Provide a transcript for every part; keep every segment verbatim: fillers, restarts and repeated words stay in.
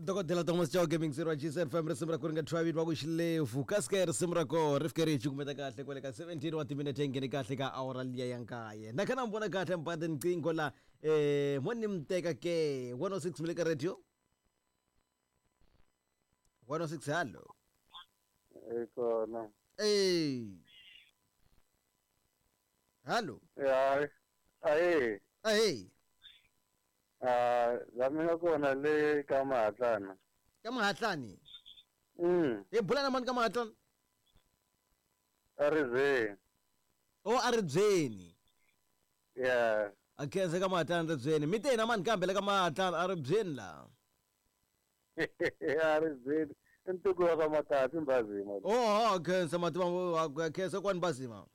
Dokodela Thomas Chauke mixer wa G S F M, risimu ra ku ri nga twavini va ku xilefu kasi risimu ra koho ri fike ri hi cukumeta kahle kwale ka seventeen wa timinete, ngheni kahle ka awara liya ya nkaye. Na kha na mi vona kahle mbade niqingho la eh mo ni mi teka ke one oh six mi le ka radio one oh six. Hallo. E kona. Eh, hallo. Ya, ahe. Ahey. Ah, la mi nga kona le ka Mahatlana. Ka Mahatlani? Mm. Hi bula na mani ka Mahatlani? A ri. O a ri byeni? Yeah. A khensa ka Mahatlani ribyeni. Mi te na mani kambe le ka Mahatlani a ri byeni la? A ri byeni. I ntuku wa ka Matati Mbazima. Oho, khensa mativa, khensa kwani Mbazima.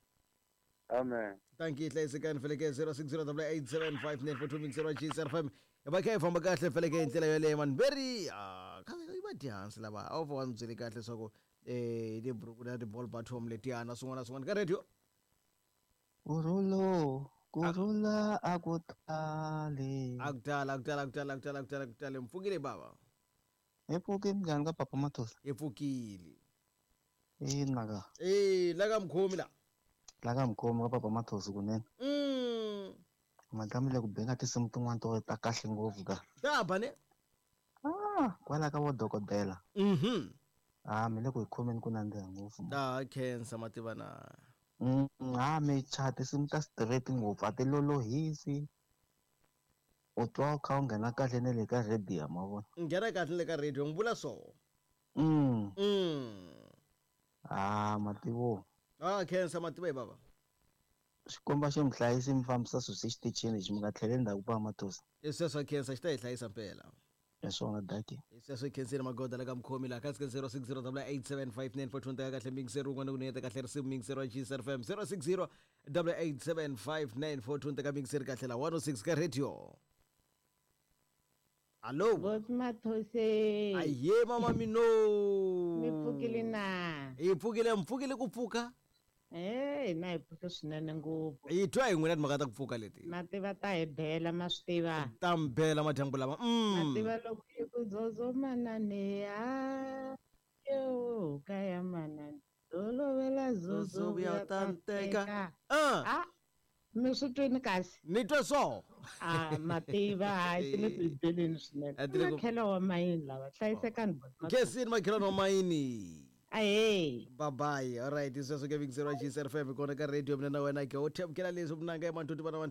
Amen. Thank you, hlayisekani feleke zero six zero eight seven five nine four two mixer wa G S F M. Hi va kha hi famba kahle feleke hi ndlela yoleyo mani very ah kha yi va dyansi lava a wu va ni byeli kahle leswaku eh tiburuku na ti-ball bottom letiyana swin'wana na swin'wana ka radio. Kurhulo, kurhula a ku tali. A ku tala, a ku tala, a ku tala, a ku tala, a ku tala, a ku tala. Mpfukile bava. Hi pfukile, njhani ka Papa Mathosa? Hi pfukile. Ina ka. Eh, la ka mukhomi la. La ka mukhomi ka Papa Mathosa kunene. Mm. Madame le ku benga tinsimu tin'wana to ta kahle ngopfu ka. Ta ba ne. Ah, kwala ka vo dokodela. Mhm. Ah, mi le ku hi khomeni ku nandziha ngopfu. Ta khensa mativa na. Mm, ah, mi cha tinsimu ta straight ngopfu, a ti lolohisi. U twa u kha u nghena kahle na le ka radio, ma vona. Nghena kahle le ka radio, n'wi vula so. Mm. Mm. Ah, mativo. Ah, khensa mativa hi bava. Xikomba xi mi hlayisi, mi fambisa swilo exitichini lexi, mi nga tlheleli ndzhaku pa Mathosa. Hi sweswo, khensa, xi ta hi hlayisa mpela. Hi swona, daki. Hi sweswo, khensile magoda la ka mukhomi laha ka zero six zero eight seven five nine four two. Teka kahle mixer un'wana ku niyeta kahle risimu mixer wa G S F M zero six zero eight seven five nine four two. Teka mixer kahle la one oh six ka radio. Allo. Boss Mathose. Aye mama mino. Mi pfukile na? Hi pfukile, mpfukile ku pfuka. Eh, na hi pfuke swinene ngopfu. Hi twa hi n'wina timhaka ta ku pfuka leti. Mativa ta hi bela, ma swi tiva. Ta mi bela madyambu lama. Mm. Mativa loko yi ku zozo manane ha yo kaya manane tolovela zozo. Zozo vuya ta nteka. Ah. Ah. Mi swi twini kasi? Ni twa so. Ah, mativa, hayi ti le ku hi beleni swinene. A ti le ku- Makhelo wa mayini lava hlayisekani, boss Mathose. Khensini makhelwani wa mayini. Ahee. Bye bye. All right, sweswo ke mixer wa G S F M kona ka radio mina na wena ke u themukela leswi vunanga emantuti vana.